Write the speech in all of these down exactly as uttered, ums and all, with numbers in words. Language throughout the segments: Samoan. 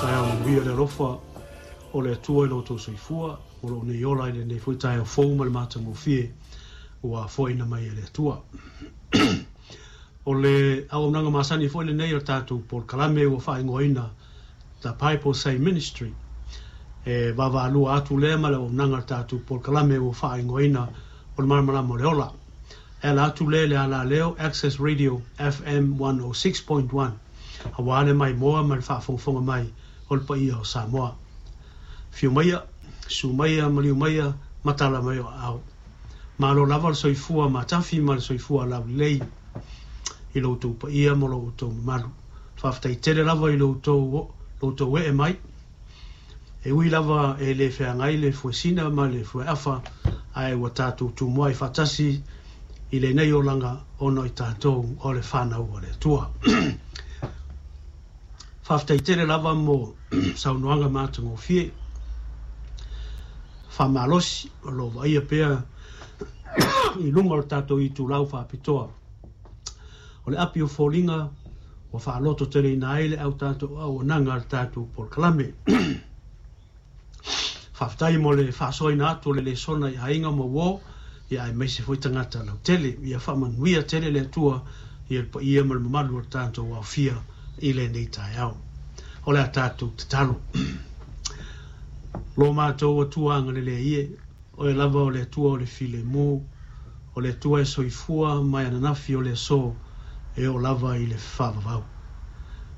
Taeao manuia le alofa o le Atua i lo outou soifua o loo nei ola i lenei foi taeao fou ma le matagofie ua foaina mai e le Atua. O le auaunaga masani foi lenei o le tatou polokalame ua faaigoaina The Bible Say Ministry. E vaavaalua atu lea ma le auaunaga o le tatou polokalame ua faaigoaina o le Malamalama o le Ola. E ala atu lea i le alaleo Access Radio F M one oh six point one aua le maimoa ma le faafogafoga mai o le paia o Samoa. Fiu maia, su maia, maliu maia, matala mai o aao. Malo lava le soifua matafi ma le soifua laulelei i lo outou paia ma lo outou mamalu. Faafetai tele lava i lo outou, lo outou ee mai. E ui lava e le feagai le fuesina ma le fueafa, ae ua tatou tumua i faatasi i lenei olaga ona i tatou o le whanau o le Atua. Faafetai tele lava mo saunoaga matagofie. Faamalosi o lo vaaia pea i luga o le tatou itulau faapitoa. O le api o foliga ua faaloto teleina ai le au tatou auaunaga a le tatou polokalame. Faafetai mo le faasoaina atu o le lesona i aiga ma uo, ia aemaise foi tagata lautele. Ia faamanuia tele le Atua ia le paia ma le mamalu o le tatou aofia i lenei taeao. O le a tatou tatalo. Lo matou Atua agalelei e, oe lava o le Atua o le filemu, o le Atua e soifua mai ananafi o le aso e oo lava i le faavavau.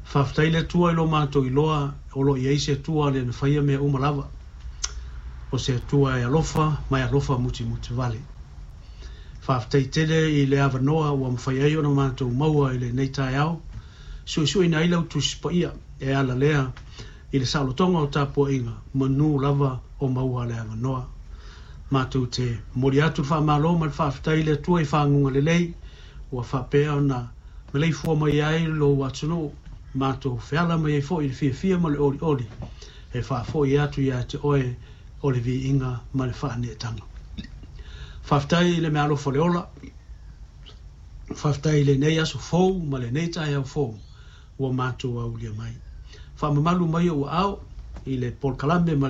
Faafetai le Atua i lo matou iloa o lo i ai se Atua le na faia mea uma lava. O se Atua e alofa ma e alofa mutimuti vale. Faafetai tele i le avanoa ua mafai ai ona matou maua i lenei taeao. Suisuina ai lau Tusi Paia e ala lea i le saolotoga o tapuaiga manu lava o maua le avanoa. Matou te momoli atu le faamalo ma le faafetai i le Atua i faguga lelei ua faapea ona maleifua mai ai lou atunuu. Matou feala mai ai foi i le fiafia ma le olioli e faafoi atu ia te oe o le viiga ma le faaneetaga. Faafetai i le meaalofa o le ola. Faafetai i lenei aso fou ma lenei taeao fou ua matou aulia mai. Faamamalu mai ou aao i le polokalame ma